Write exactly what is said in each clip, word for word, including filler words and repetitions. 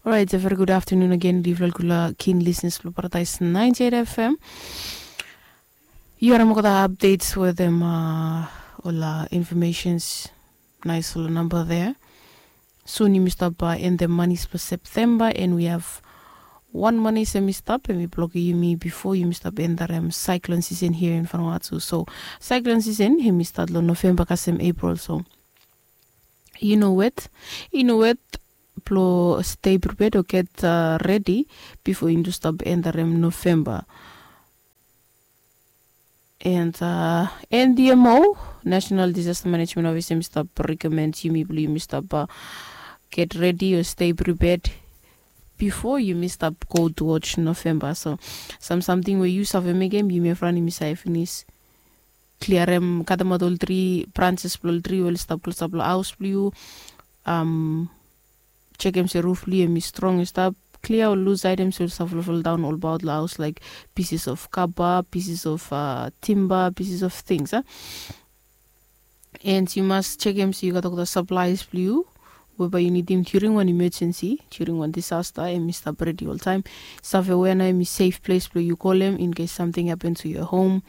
Orait, a very good afternoon again, livlal gula kin listeners blong Paradise ninety-eight F M. Yu harim olgeta updates wetem uh, ol uh, informations. Nice ol number there. Soon yumi stop uh, end the months for September, and we have one money sem i stop, and we block yumi before yumi stop end the um, cyclone season here in Vanuatu. So cyclone season hemi start lo November kasem April. So you know what? You know what? Blo stay prepared or get uh, ready before you stop end the um, November. And uh, N D M O, National Disaster Management Office, yumi stop recommend yumi blo yumi stop uh, get ready or stay prepared before yumi stop go towards November. So some something where you save make him, yumi have run yumi save finish. Clear him, cut them out all three branches, all three will stop, stop, house blue. Um, check him se roof blue, him strong, stop. Clear all loose items will suffer fall down all about the house, like pieces of kaba, pieces of uh, timber, pieces of things. Huh? And you must check him so you got all the supplies blue. Weba yu nidim during one emergency, during one disaster, hemi stap redi oltaim. Save wea nao hemi safe place blong yu kolem in case something happen to your home.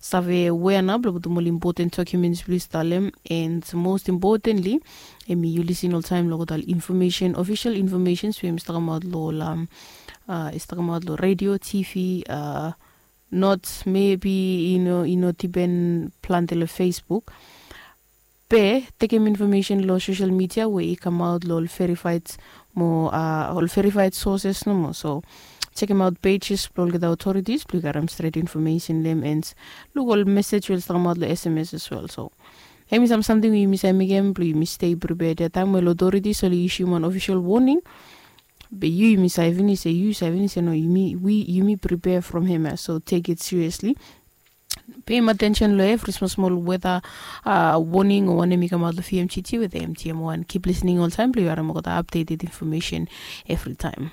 Save wea nao blong putum ol important documents blong yu stap talem, and most importantly, hemi yu lisin oltaim long olgeta ol information, official informations we hemi stap kamaot long ol, um, uh, i stap kamaot long radio, T V, uh, not maybe i no, i no dipen plante long Facebook. Be tekem information long social media we i kamaot long ol verified mo, uh, ol verified sources nomo. So chekem aot pages blong olgeta authorities blong yu garim stret information long hem, and luk ol message we oli stap kamaot long S M S as well. So hemi sam samting we yumi save mekem blong yumi stay prepared ia taim we ol authorities oli issuem wan official warning. Be yu, yumi save finis se, yu save finis se no, yumi, we, yumi prepare from hem ia. So take it seriously. Pay him attention long evri smol smol weather uh, warning o wanem i kamaot long V M G T with the M T M one. Keep listening oltaim blong yu harim olgeta updated information evri taim.